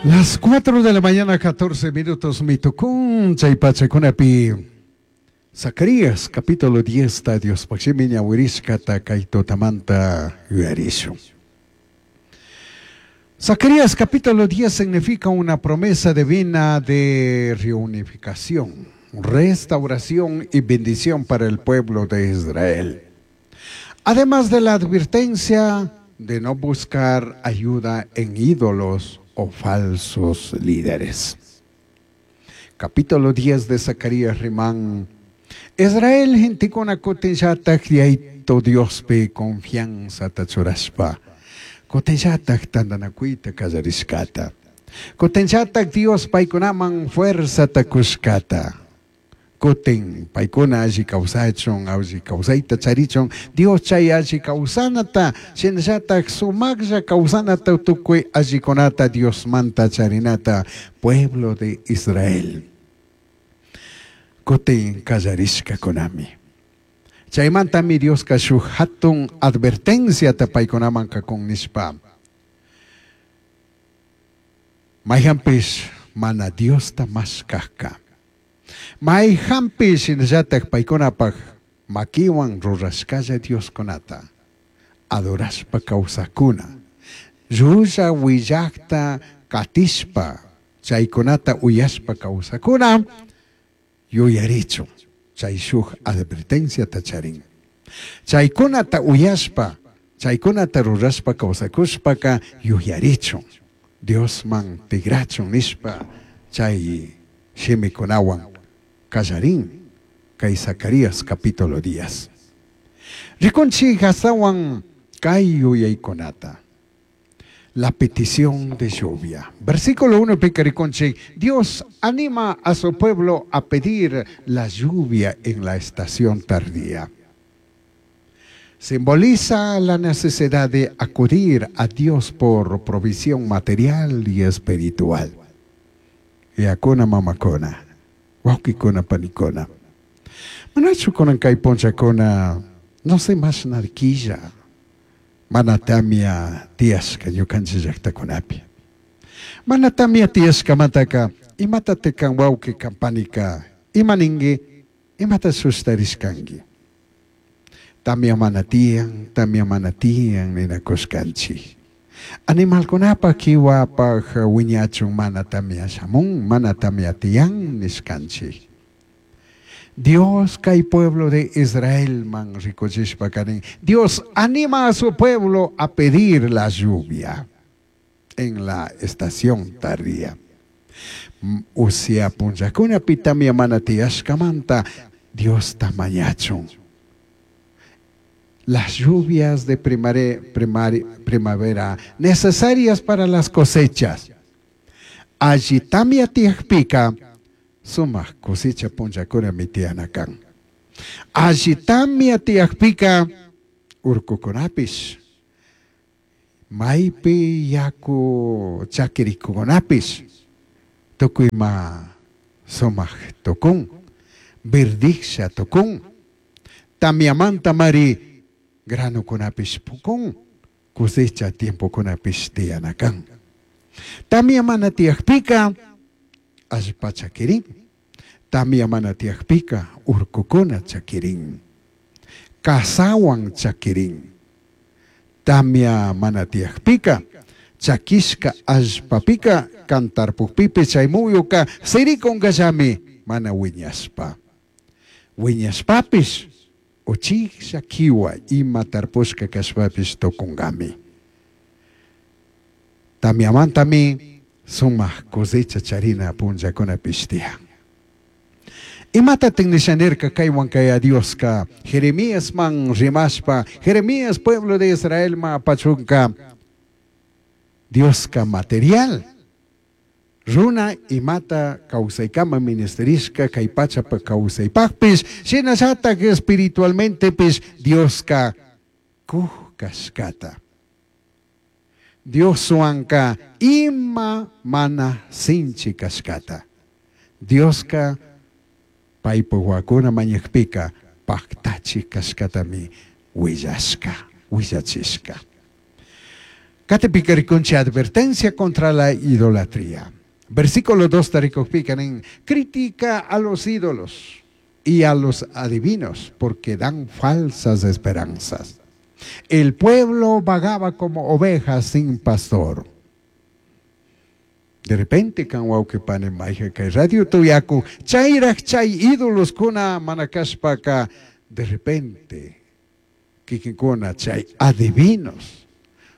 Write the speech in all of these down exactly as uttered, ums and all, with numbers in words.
Las cuatro de la mañana, catorce minutos, mitucún, chay pachakunapi. Zacarías, capítulo diez, ta Dios pashimi ñawirishkata kay tutamanta yuyarishun. Zacarías capítulo diez significa una promesa divina de reunificación, restauración y bendición para el pueblo de Israel. Además de la advertencia de no buscar ayuda en ídolos o falsos líderes. Capítulo diez de Zacarías riman. Israel gentekuna kutinllataj Yayaito Diospi confianzata churashpa. Kutinllataj tandanakuyta kallarishkata. Kutinllataj Dios paykunaman fuerzata kushkata. Kutin paykuna alli kawsachun, alli kawsayta charichun, Dios chay alli kawsanata, shinallataj sumaqlla kawsanata tukuy allikunata Diosmanta charinata, pueblo de Israel. Kutin kallarishkakunami. Chaymantami Dioska shuk hatun advertenciata paykunaman kakun nishpa. Mayhanpish mana Diosta mashkajka. Mayhanpish shinallataj paykunapaj makiwan rurashkalla Dioskunata adorashpa kawsakuna. Llulla willakta katishpa chaykunata uyashpa kawsakuna yuyarichun chay shuk advertenciata charin. Chaykunata uyashpa chaykunata rurashpa kawsakushpaka yuyarichun Diosman tigrachun nishpa chay shimikunawan kallarin kay Zacarías capítulo diez. Rikunchik astawan kay yuyaykunata. La petición de lluvia. Versículo uno rikunchik, Dios anima a su pueblo a pedir la lluvia en la estación tardía. Simboliza la necesidad de acudir a Dios por provisión material y espiritual. Yakuna mamakuna, wawkikuna panikuna. Manachu kunan kay punchakuna, no sé más narquilla. Mana tamia tiyashka ñukanchik llaktakunapi. Mana tamia tiyashkamantaka, imata tekan wawqi kampanika, ima ninki, imata sustarishkanki. Tamia mana tiyan, tamia mana tiyan ninakushkanchik. Animalkunapaj kiwapaj wiñachun mana tamia shamun, mana tamia tiyan nishkanchik. Dios kay pueblo de Israel man rikuchishpa kanin. Dios anima a su pueblo a pedir la lluvia en la estación tardía. Usia punchakuna tamia mana tiyashkamanta Dios tamañachun. Las lluvias de primare, primari, primavera necesarias para las cosechas. Allí tamia tiyakpika sumaq cosecha punchakuna mitianakan. Allí tamia tiyakpika urkukunapish, maypi yaku chakirikukunapish, tukuyma sumaq tukun, verdiksha tukun, tamiamanta mari granukunapish pukun, cosecha tiempokunapish tiyanakan. Tamia mana tiyakpika allpa chakirin, tamia mana tiyakpika urkukuna chakirin, kasawan chakirin. Tamia mana tiyakpika chakishka allpapika kantarpukpipi chay muyuka sirikunkallami mana wiñashpa. Wiñashpapish uchiksha kiwa ima tarpushka kashpapish tukunkami. Tamiamantami sumaq cosecha charina punchakunapish tiyan. Imata tinnishanirka kaywan kay Dioska Jeremías man rimashpa, Jeremías pueblo de Israel ma apachunka Dioska material. Runa imata kawsaykama ministerishka kay pachapa kawsaypaqpis, shinallatak espiritualmentepis Dioska kuj kashkata. Dioswanka ima mana sinchi kashkata. Dioska paypa wawakuna mañakpika paktachi kashkatami willashka, willachishka. Qatipika rikunchik advertencia contra la idolatría. Versículo dos rikukpika nin, critica a los ídolos y a los adivinos porque dan falsas esperanzas. El pueblo vagaba como ovejas sin pastor. De repente kan wawqi pani mayqa kay radio tuyaku chayraq chay ídoloskuna mana kashpaka de repente kikinkuna chay adivinos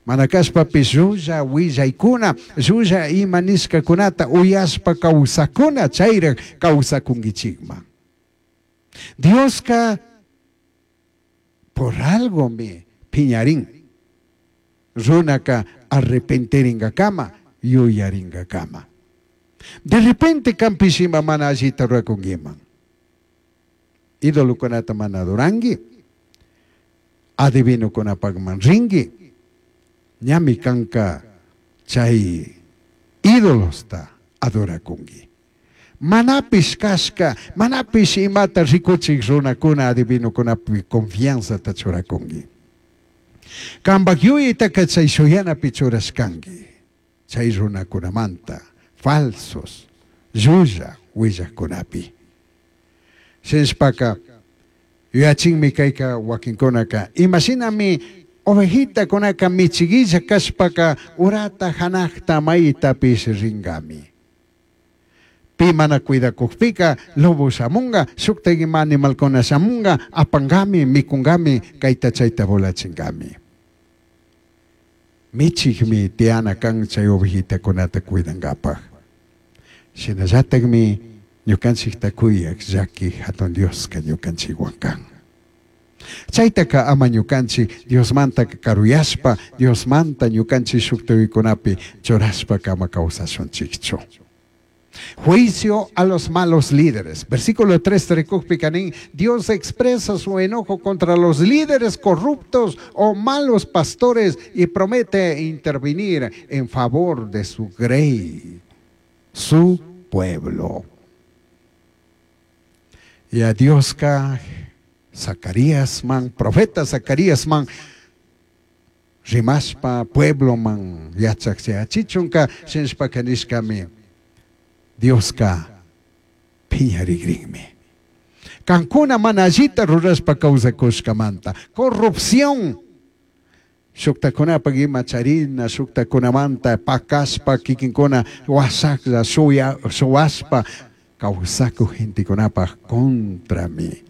mana kashpapish llulla willaykuna llulla ima nishkakunata uyashpa kawsakuna chayraq kawsakunkichikman. Dioska por algo mi piñarin runaka arrepentiringakama yuyaringakama. De repente kanpish ima mana allita rurakunkiman. Idolokunata mana adoranki, adivinokunapakman rinki, ñami kanka chay ídolosta adorakunki. Manapish kashka, manapish imata rikuchik runakuna adivinokunapi confianzata churakunki. Kanpak yuyaytaka chay shuyanapi churashkanki. Chay runakunamanta falsos llulla willaqkunapi. Shinashpaka yuyachinmi kayka wakinkunaka imashinami ovejitakunaka michiguilla kashpaka urata hanaqta maytapish ringami. Pi mana cuidakukpika lobo shamunga, shukta ima animalkuna shamunga, apangami, mikungami, kayta chayta volachingami. Michikmi tiyana kan chay ovejitakunata cuidankapaj. Shinallatakmi ñukanchikta kuyak llaki hatun Dioska ñukanchikwan kan. Chaytaka ama ñukanchik Diosmanta karuyashpa, Diosmanta ñukanchik shuktuykunapi churashpa kama kawsashunchikchu. Juicio a los malos líderes. Versículo tres rikukpika nin, Dios expresa su enojo contra los líderes corruptos o malos pastores y promete intervenir en favor de su grey, su pueblo. Y a Dioska Zacarías man, profeta Zacarías man, rimashpa pueblo man, yachak chichunka, shinshpa kanishkami, Dioska piñarigrinmi. Kankuna mana allita rurashpa kawsakushkamanta. Corrupción. Shuktakunapaq ima charina, shuktakunamanta pakashpa kikinkuna wasaklla shuya shuwashpa kawsakuq gentekunapaq contrami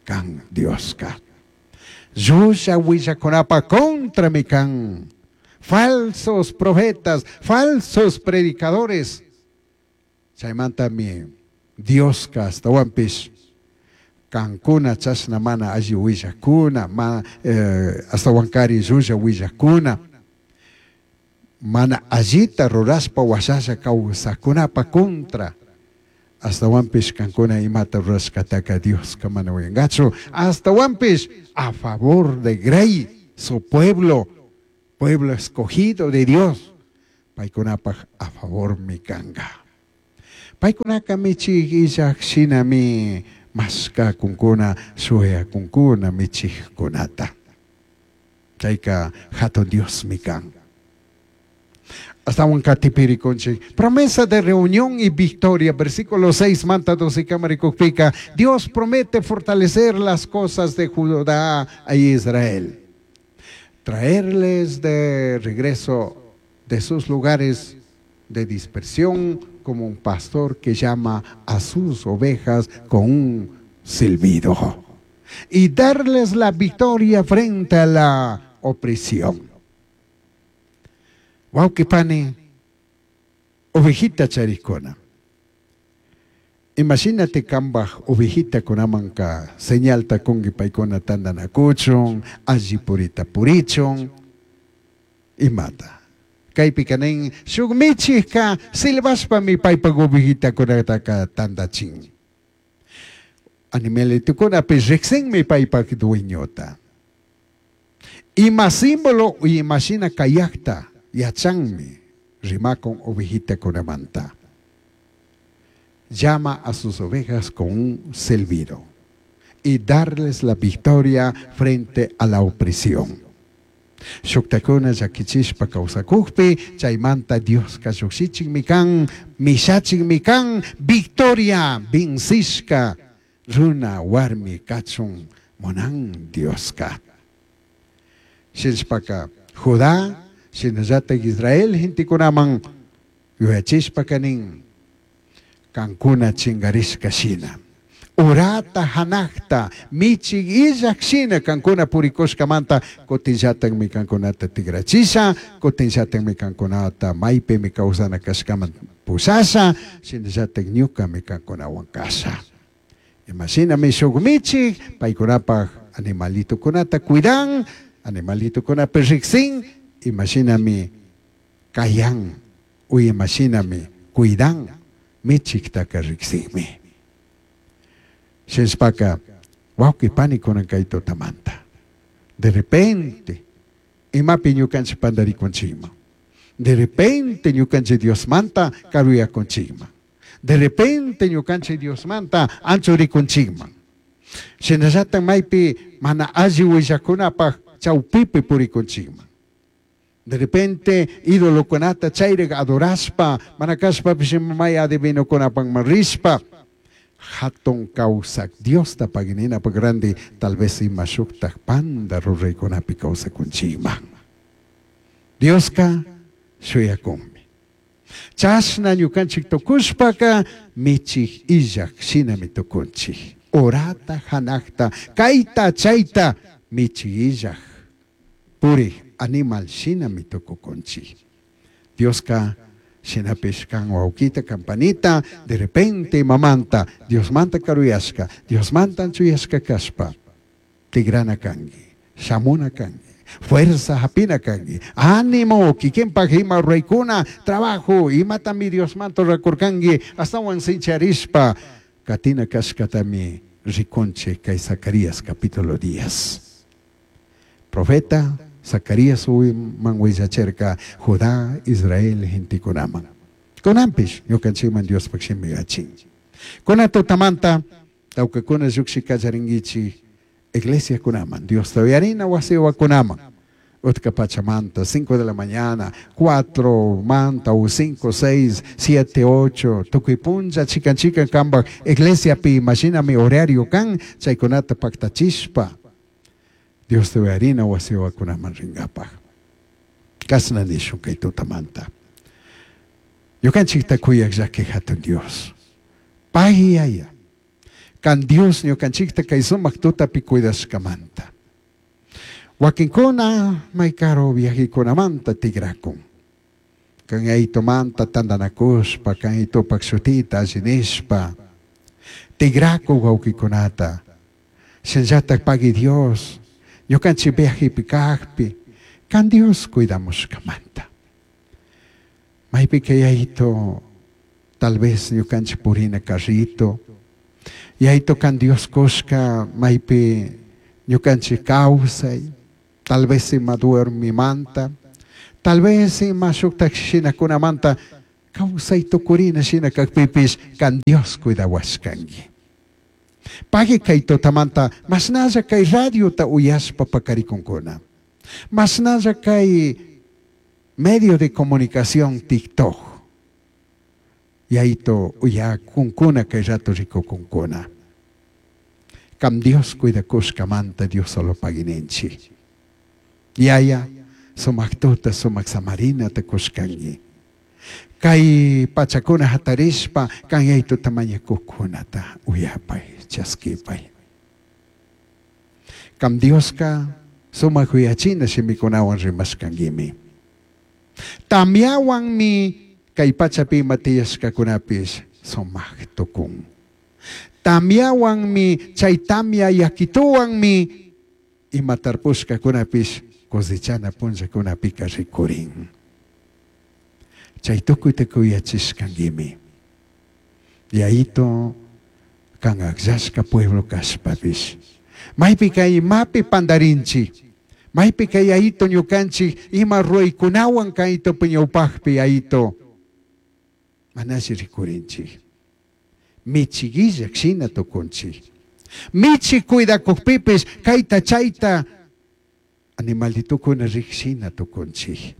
kan Dioska. Llulla willakunapaq contrami kan. Falsos profetas, falsos predicadores. Chaymantami Dioska astawanpish kankuna chashna mana alli willakuna, ma, eh, astawankari llulla willakuna, mana allita rurashpa washasha kawsakunapa contra, astawanpish kankuna imata rurashkataka Dioska mana uyangachu, astawanpish a favor de Grey, su pueblo, pueblo escogido de Dios, paykunapaj a favor mi kanga. Paykunaka michik illak shinami mashkakunkuna shuyakunkuna michikkunata. Chayka hatun Diosmi kan. Astawan qatipirikunchik. Promesa de reunión y victoria. Versículo seis, manta doce kamarikukpika. Dios promete fortalecer las cosas de Judá e Israel. Traerles de regreso de sus lugares de dispersión como un pastor que llama a sus ovejas con un silbido y darles la victoria frente a la opresión. Wawqi pani, ovejita charikuna. Imagínate kambaj ovejita kunamanka señalta kungi paykuna tandanakuchun, alli purita purichun, imata. Kaypika nin shuk michikka silbashpami paypak ovejitakunataka tandachin. Animalitukunapish riqsinmi paypak dueñota. Ima símbolo imashina kayaqta yachanmi rimakun ovejitakunamanta. Llama a sus ovejas con un silbido y darles la victoria frente a la opresión. Shuktakuna llakichishpa kawsakukpi chaymanta Dioska llukshichikmi kan, mishachikmi kan, victoria vencishka runa warmi kachun munan Dioska. Shinashpaka Judá shinallatak Israel gentekunaman yuyachishpaka nin kankuna chingarishka shina. Urata hanakta michik illak shina kankuna purikushkamanta kutinllatakmi kankunata tigrachisha, kutinllatakmi kankunata maypimi kawsana kashkaman pushasha, shinallatak ñukami kankunawan kasha. Imashinami shuk michik paykunapaj animalitukunata cuidan, animalitukunapi riksin, imashinami kayan, u imashinami cuidan, michiktaka riksinmi. Shinashpaka wawqi panikuna kay tutamanta. De repente imapi ñukanchik pantarikunchikman. De repente ñukanchik Diosmanta karuyakunchikman. De repente ñukanchik Diosmanta anchurikunchikman. Shinallatak maypi mana alli willakunapaj chawpipi purikunchikman. De repente idolokunata chayrik adorashpa mana kashpapish may adivinokunapakman rishpa hatun kawsak Diosta pagininapak grande tal vez ima shuktak panda ruraykunapi kawsakunchikman. Dioska shuyakunmi. Chashna ñukanchik tukushpaka michik illak shinami tukunchik. Urata hanakta kayta chayta michik illak purik animal shinami tukukunchik. Dioska shinapish kan wawkita kampanita de repente mamanta Diosmanta karuyashka Diosmanta anchuyashka kashpa tigrana kanki shamuna kanki fuerza hapina kanki ánimo kikinpak ima ruraykuna trabajo imatami Diosmanta rurakurkanki astawan sincharishpa katina kashkatami rikunchik kay Zacarías capítulo diez. Profeta Zacarías man willacherka Judá, Israel gentekunaman. Kunanpish ñukanchikman Diospaj shimi yachin. Kuna tutamanta tawkakuna llukshi kallarinkichik iglesiakunaman, Diosta uyarina wasiwakunaman. Utka pachamanta, cinco de la mañana, cuatro manta, u cinco, seis, siete, ocho, tukuy punlla, chikan chikan kambaj, iglesiapi, imaginami horario kan, chaykunata paktachishpa. Dios te uyarina wasiwakunaman ringapaj. Kasna nishun kay tutamanta. Ñukanchikta kuyak llaki hatun Dios. Pay yaya. Kan Dios ñukanchikta kay sumak tutapi cuidashkamanta. Wakinkuna may karo viajikunamanta tigrakun. Kan aytumanta tandanakushpa, kan aytupak shutita allinishpa. Tigraku wawqikunata. Shinallatak pagui Dios. Ñukanchik viajipi kajpi, kan Dios cuidamushkamanta. Maypi kay yayito, tal vez ñukanchik purina carrito, yayito kan Dios kushka maypi ñukanchik kawsay, tal vez ima duermimanta, tal vez ima shuktak shinakunamanta kawsay tukurina shina kakpipish kan Dios cuidawashkanki. Pagui kay tutamanta mashnalla kay radiota uyashpa pakarikunkuna. Mashnalla kay medio de comunicación TikTok. Yayito uyakunkuna kay rato rikukunkuna. Kam Dios cuidakushkamanta Dios solo pagininchik. Yaya sumak tuta sumak samarinata kushkanki. Kay pachakuna hatarishpa kan yaytuta mañakuqkunata uyapay chaskipay. Kam Dioska sumak uyachina shimikunawan rimashkankimi. Tamyawanmi kay pachapi ima tiyashkakunapish sumak tukun. Tamyawanmi chay tamya yakituwanmi ima tarpushkakunapish cosechana punllakunapika rikurin. Chay tukuyta kuyachishkankimi. Yayito kan akllashka pueblo kashpapish. Maypi kay imapi pandarinchik. Maypi kay yayito ñukanchik ima ruraykunawan kayto ñawpajpi yayito. Manashi rikurinchik. Michiguillak shina tukunchik. Michi cuidakukpipish kayta chayta Animalitukuna rikshina tukunchik.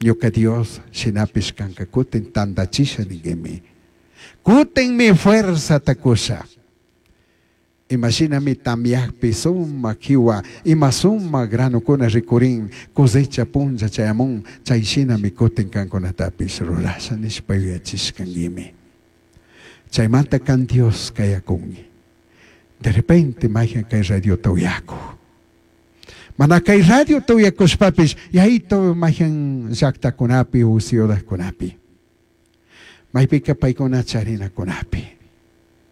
Ñuka Dios shinapish kanka kutin tandachisha ninguimi. Kutinmi fuerzata kusha. Imashinami tamyakpi sumak kiwa, ima sumak granukuna rikurin, cosecha punlla chayamun, chay shinami kutin kankunatapish rurasha nishpa yuyachishkanguimi. Chaymanta kan Dios kayakungi. De repente mayhan kay radiota uyakuj. Mana kay radiota uyakushpapish yayito mayhan llaktakunapi u ciudadkunapi. Maypika paykuna charinakunapi.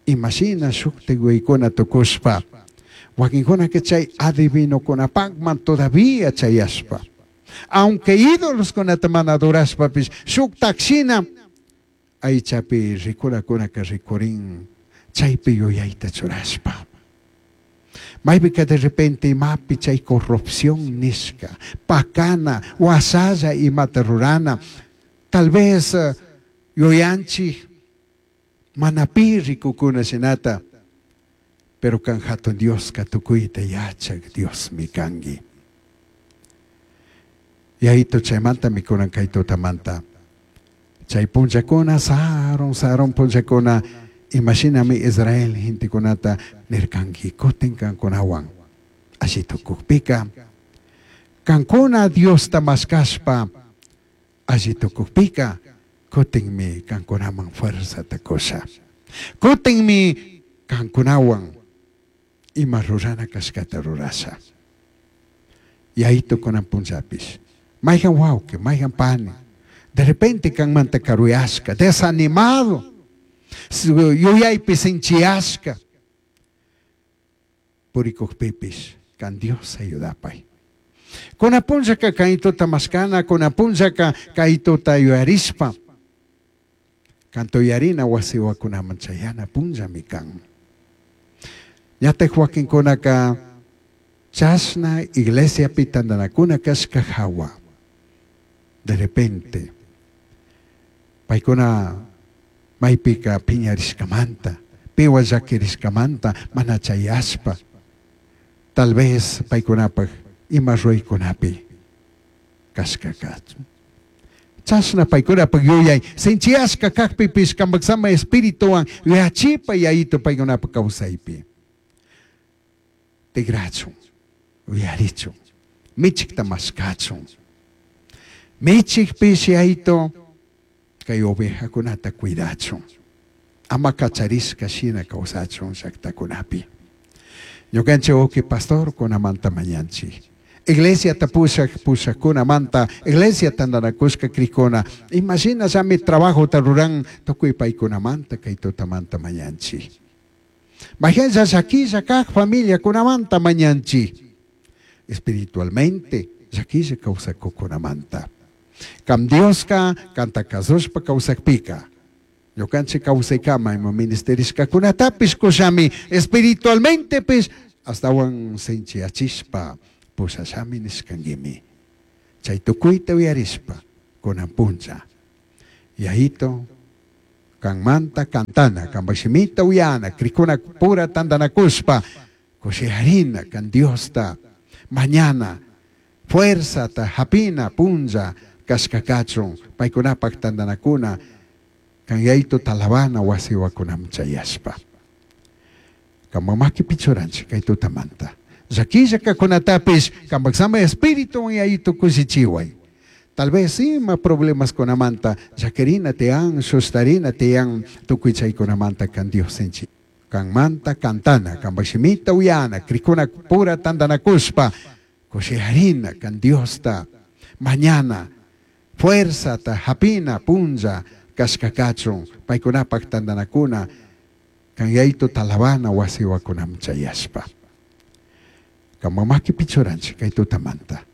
Imashina shuktik waykuna tukushpa. Wakinkunaka chay adivinokunapakman todavía chayashpa. Aunque ídolos kunata mana adorashpapish shuktak shina aychapi rikurakunaka rikurin chaypi yuyayta churashpa. Maypika de repente imapi chay corrupción nishka, pakana, wasalla imata rurana, tal vez uh, yuyanchik mana pi rikukuna shinata, pero kan hatun Dioska tukuyta yachak Diosmi kanki. Yayito chaymanta mikunan kay tutamanta. Chay punllakuna, sarun, sarun punllakuna, imashinami Israel gentekunata nirkanki kutin kankunawan. Alli tukukpika, kankuna Diosta mashkashpa, alli tukukpika, kutinmi kankunaman fuerzata kusha. Kutinmi kankunawan ima rurana kashkata rurasha. Yayito kunan punllapish. Mayhan wawqi, mayhan pani. De repente kanmanta karuyashka, desanimado, yuyaypi sinchiyashka. Purikukpipish, kan Dios ayudapay. Kunan punllaka kaytuta mashkana, kunan punllaka kaytuta yuyarishpa. Kanto yarina wasiwakunaman chayana punllami kan. Ñataj wakinkunaka chashna iglesiapi tantanakuna kashka hawa. De repente, paykuna maypika piñarishkamanta, piwa llakirishkamanta mana chayashpa. Tal vez paykunapaj ima ruraykunapi kashka kachun. Chashna paykunapaj yuyay sinchiyashka kakpipish kanpak sama espirituwan yuyachipa yayito paykunapaj kawsaypi. Tigrachun, uyarichun, michikta mashkachun. Michikpish yayito kay ovejakunata cuidachun. Ama kacharishka shina kawsachun llaktakunapi. Ñukanchik uki pastor kunamanta mañanchik. Iglesia ta pushak pushakkunamanta, iglesia tantanakushka krikuna. Imagina llami trabajota ruran tukuy paykunamanta kay tutamanta mañanchik. Majenlla llakilla kaj familiakunamanta mañanchik. Espiritualmente llakilla kawsakukunamanta. Kam Dioska kanta kasushpa kawsakpika. Ñukanchik kawsaykama ima ministerishkakunatapish kushami espiritualmente pish astawan sinchiyachishpa pushashami nishkankimi. Chay tukuyta uyarishpa kunan punlla. Yayito kanmanta kantana, kanpak shimita uyana, krikuna pura tantanakushpa, kushiharina kan Diosta, mañana, fuerzata hapina punlla kashka kachun, paykunapak tantanakuna, kan yayito talabana wasiwakunaman chayashpa. Kanpak makipi churanchik kay tutamanta. Llakilla kakunatapish kanpak sama espíritu yayito kushichiway. Tal vez ima problemas kunamanta, llakirina tiyan, sustarina tiyan, tukuy chaykunamanta kan Dios sinchi. Kanmanta kantana, kanpak shimita uyana, krikuna pura tantanakushpa, kushiharina kan Diosta, mañana, fuerzata hapina punlla kashka kachun, paykunapak tantanakuna, kan yayito talabana wasiwakunaman chayashpa. Kanpak makipi churanchik kay tutamanta.